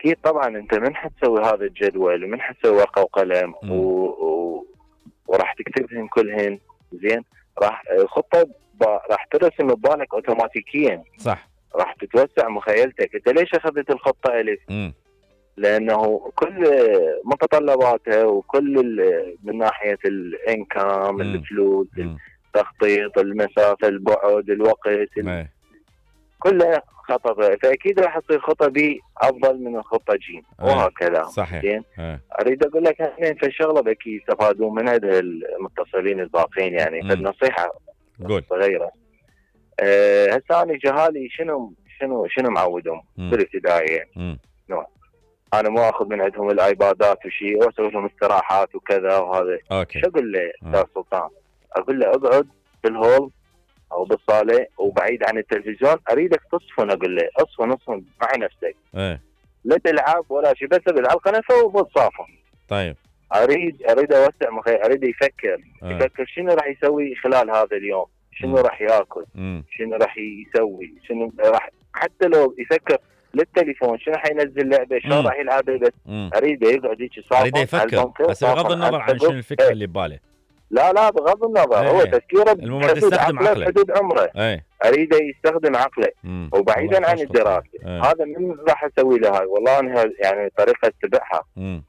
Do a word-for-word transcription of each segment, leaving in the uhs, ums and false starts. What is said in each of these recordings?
اكيد طبعا انت من حتسوي هذا الجدول ومن حتسوي ورقه وقلم و... و... وراح تكتبهن كلهن زين، راح الخطه ب... راح ترسم ببالك اوتوماتيكيا. صح. راح تتوسع مخيلتك. انت ليش اخذت الخطه الف؟ م. لانه كل متطلباتها وكل من ناحيه الانكم، الفلوس، التخطيط، المسافه، البعد، الوقت، ال... كلها خطه، فاكيد راح تصير خطه بي افضل من الخطه جيم وهكذا. صحيح. زين، اريد اقول لك اثنين في الشغله بكي يستفادون من هذا المتصلين الباقين، يعني فالنصيحه صغيره. أه هسه انا جهالي شنو شنو شنو معودهم بالابتدائيه. نوع انا مو اخذ من عندهم الايبادات وشيء واسوي لهم استراحات وكذا وهذا. أوكي. شو اقول له استاذ سلطان؟ اقول له اقعد بالهول او بالصاله وبعيد عن التلفزيون، اريدك تصفن. اقول له اصفن اصفن مع نفسك. ايه لا تلعب ولا شيء، بس بالعب قنفه وبتصافن. طيب اريد اريد اوسع مخي، اريد يفكر أه. يفكر شنو راح يسوي خلال هذا اليوم، شنو راح ياكل، م. شنو راح يسوي، شنو راح، حتى لو يفكر للتليفون شنو حينزل لعبه، شلون راح يلعبها، بس اريد يقعد هيك صافن. اريد يفكر بس بغض النظر عن شنو الفكره اللي بباله. لا لا بغض النظر ايه. هو تفكيره بحدود عقله حدود عمره. ايه. اريد يستخدم عقله مم. وبعيدا عن الدراسه. ايه. هذا من راح اسوي له هاي، والله انا يعني طريقه اتبعها. امم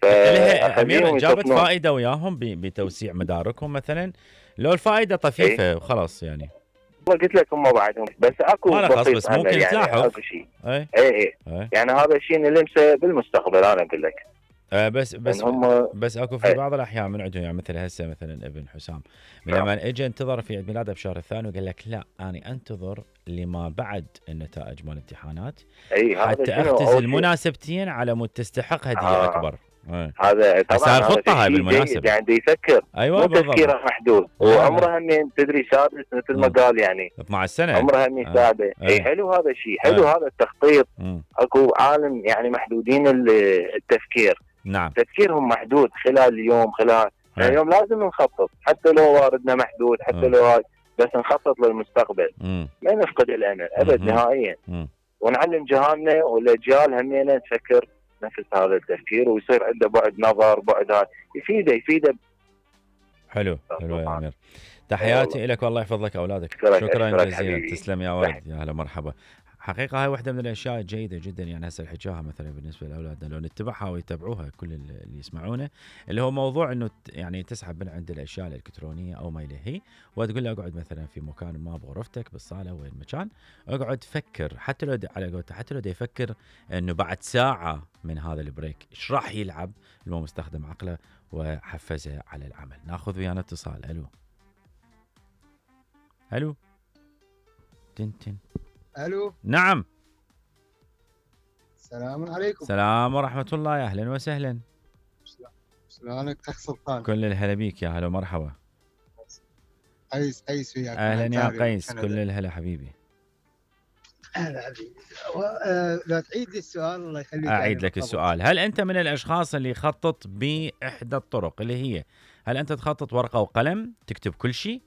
ايه. امير جابت فائده وياهم بتوسيع مداركهم مثلا، لو الفائده طفيفه ايه. وخلاص يعني والله قلت لك هم بعدهم بس اكو بسيط بس ممكن يعني تلاحظ اكو شيء. ايه ايه ايه, ايه. يعني هذا الشيء نلمسه بالمستقبل. انا اقول لك آه بس بس هم بس اكو في بعض الاحيان من عندهم، يعني مثل هسه مثلا ابن حسام من لما اجى انتظر في عيد ميلاده بشهر الثاني وقال لك لا انا انتظر لما بعد النتائج مال الامتحانات حتى اختزل مناسبتين على مود تستحق هديه آه. اكبر. آه. هذا طبعا خطه هاي بالمناسبه يعني يفكر. ايوه تفكيره محدود وعمره هم تدري سادس مثل ما قال يعني اثنعش سنه عمره هم سادس. آه. اي حلو هذا الشيء، حلو آه. هذا التخطيط. م. اكو عالم يعني محدودين التفكير. نعم تفكيرهم محدود خلال اليوم، خلال يعني اليوم لازم نخطط حتى لو واردنا محدود، حتى م. لو هاي بس نخطط للمستقبل. م. ما نفقد الامل ابد نهائيا. م. ونعلم جهالنا والاجيال همينه تفكر نفس هذا التفكير ويصير عنده بعد نظر، بعد هذا يفيده يفيده. حلو حلو يا امير، تحياتي لك والله يحفظ لك اولادك. شكرا, شكرا جزيلا. تسلم يا ولد، يا هلا مرحبا. حقيقة هاي واحدة من الأشياء الجيدة جدا، يعني هسه الحكاها مثلا بالنسبة لأولادنا لو نتبعها ويتبعوها كل اللي يسمعونه، اللي هو موضوع إنه يعني تسحب من عند الأشياء الإلكترونية أو ما إليه، وتقول له اقعد مثلا في مكان ما بغرفتك بالصالة وين مكان، اقعد فكر، حتى لو على قولته حتى لو يفكر إنه بعد ساعة من هذا البريك إيش راح يلعب، المهم استخدم عقله وحفزه على العمل. ناخذ ويانا اتصال. ألو ألو تنتن. الو نعم. السلام عليكم. السلام ورحمة الله، يا اهلا وسهلا. شلونك اخ سلطان؟ كل الهلا بيك، يا هلا مرحبا. قيس قيس وياك. اهلا يا قيس، كل الهلا حبيبي. هلا حبيبي. لو تعيد لي السؤال الله يخليك. اعيد لك السؤال. هل انت من الاشخاص اللي يخطط باحدى الطرق اللي هي هل انت تخطط ورقة وقلم تكتب كل شيء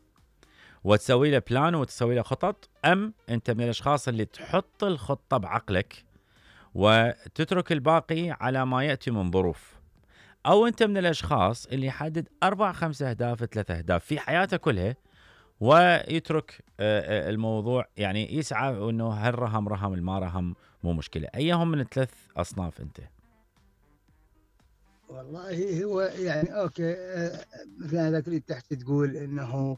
وتسوي له بلان وتسوي له خطط، أم أنت من الأشخاص اللي تحط الخطة بعقلك وتترك الباقي على ما يأتي من ظروف، أو أنت من الأشخاص اللي يحدد أربع خمس أهداف ثلاث أهداف في حياته كلها ويترك الموضوع يعني يسعى أنه هل رهم رهم الما رهم مو مشكلة؟ أيهم من الثلاث أصناف أنت؟ والله هو يعني اوكي مثل هذاك اللي تحت تقول انه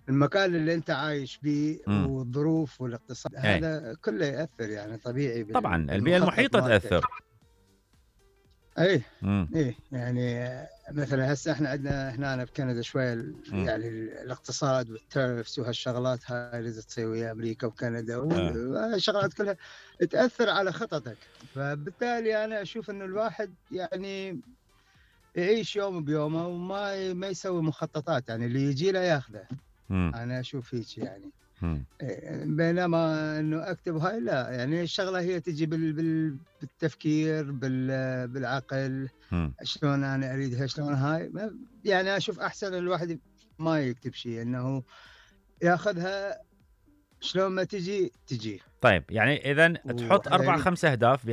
المكان اللي انت عايش فيه والظروف والاقتصاد ايه. هذا كله ياثر يعني طبيعي. طبعا البيئه المحيطه تاثر. اي اي يعني مثلا هسه احنا عندنا هنا بكندا شويه يعني الاقتصاد والتيرفس وهالشغلات هاي اللي تصير ويا امريكا وكندا والشغلات كلها تاثر على خططك، فبالتالي انا اشوف انه الواحد يعني يعيش يوم بيومه وما ما يسوي مخططات، يعني اللي يجي له ياخذه. انا اشوف هيك يعني. مم. بينما انه اكتب هاي لا، يعني الشغله هي تجي بال بالتفكير بال بالعقل. مم. شلون انا اريدها شلون هاي، يعني اشوف احسن الواحد ما يكتب شيء، انه ياخذها شلون ما تجي تجي. طيب يعني اذا تحط اربع خمس اهداف